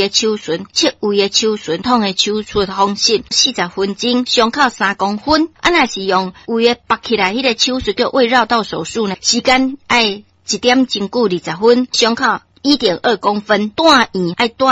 的手術，切胃的手術，統的手術方式，40分鐘，傷口3公分。啊，若是用胃的縛起來，彼個手術叫胃繞道手術呢，時間愛一點鐘久20分，傷口1.2公分，住院愛住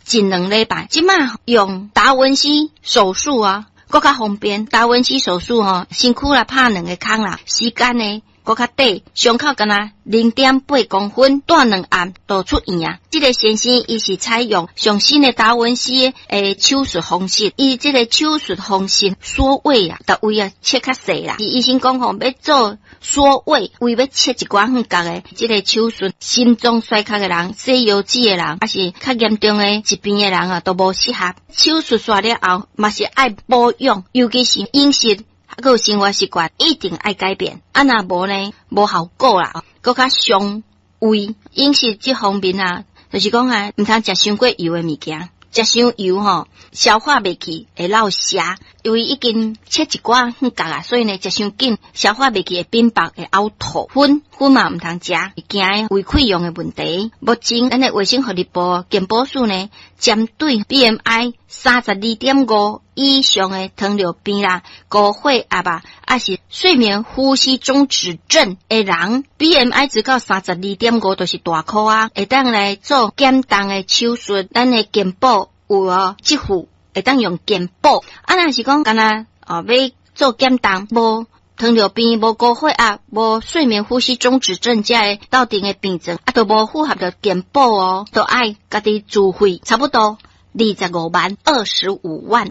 一兩禮拜。這馬用達文西手術啊，閣較方便。達文西手術吼，身軀來拍兩个孔啦，時間呢閣較短，傷口干焦0.8公分，住2暗就出院啊。這个先生伊是採用上新的達文西的手術方式，伊這個手術方式縮胃啊，逐胃啊切較細啦。醫生講吼，欲做縮胃，胃欲切一寡遠角的這個手術，心臟衰竭的人、洗腰子的人，抑是較嚴重的疾病的人啊，都無適合。手術煞了後，嘛是愛保養，尤其是飲食。閣有生活習慣一定愛改變，啊若無呢，無效果啦，閣較傷胃。飲食這方面啊，就是講啊，毋通食傷過油的物件，食傷油吼，消化袂去會落瀉，因為已經切一寡遠角啊，所以呢，食傷緊，消化袂去會變白會嘔吐。薰薰嘛毋通食，驚胃潰瘍的問題。目前咱的衛生福利部健保署呢，針對 BMI 32.5以上的糖尿病啦、高血壓啊，抑是睡眠呼吸中止症的人，BMI 值到32.5就是大箍啊，會當來做減重的手術。咱的健保有哦，這副會當用健保。啊，若是講干焦哦，欲做減重，無糖尿病、無高血壓、無睡眠呼吸中止症這个鬥陣的病症，啊，都無符合著健保哦，都愛家己自費，差不多25萬，25萬。